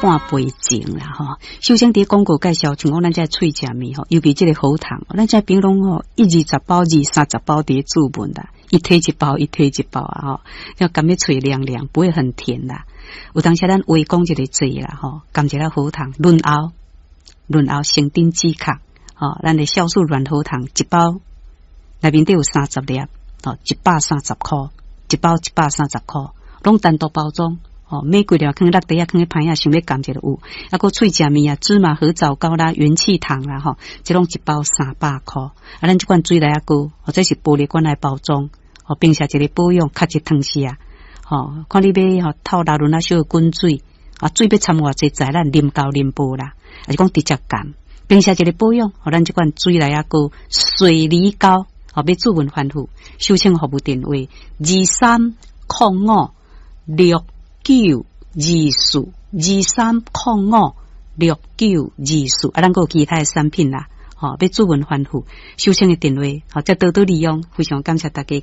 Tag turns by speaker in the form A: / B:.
A: 半杯前啦吼。首先佇廣告介紹，像講咱這喙食物吼，尤其這個喉糖，咱這朋攏吼一二十包、二三十包佇咧注文啦，一提一包，一提一包啊吼，要感覺喙涼涼，不會很甜啦。有當時咱話講一个濟啦吼，含一个喉糖潤喉，潤喉成頂止咳，吼，咱的酵素軟喉糖一包內面底有30粒，吼，130箍，一包130箍，攏單獨包裝。哦，買幾粒囥落地仔，囥咧歹仔，想欲含一个有，啊，閣喙食物啊，芝麻核棗糕啦，元氣糖啦，吼，這攏一包300箍。啊，咱這款水螺仔糕，或者是玻璃罐來包裝，哦，平時一个保養，較一湯匙啊，吼，看你欲吼透熱潤啊，小滾水，啊，水欲摻偌濟，在咱啉夠啉無啦，還是講直接含。平時一个保養，予咱這款水螺仔糕、水梨糕，吼，欲諮詢番付，收請服務電話23056924，23056924，啊，咱閣有其他的產品啦，吼，欲諮詢番付，收請的電話，吼，再多多利用，非常感謝大家。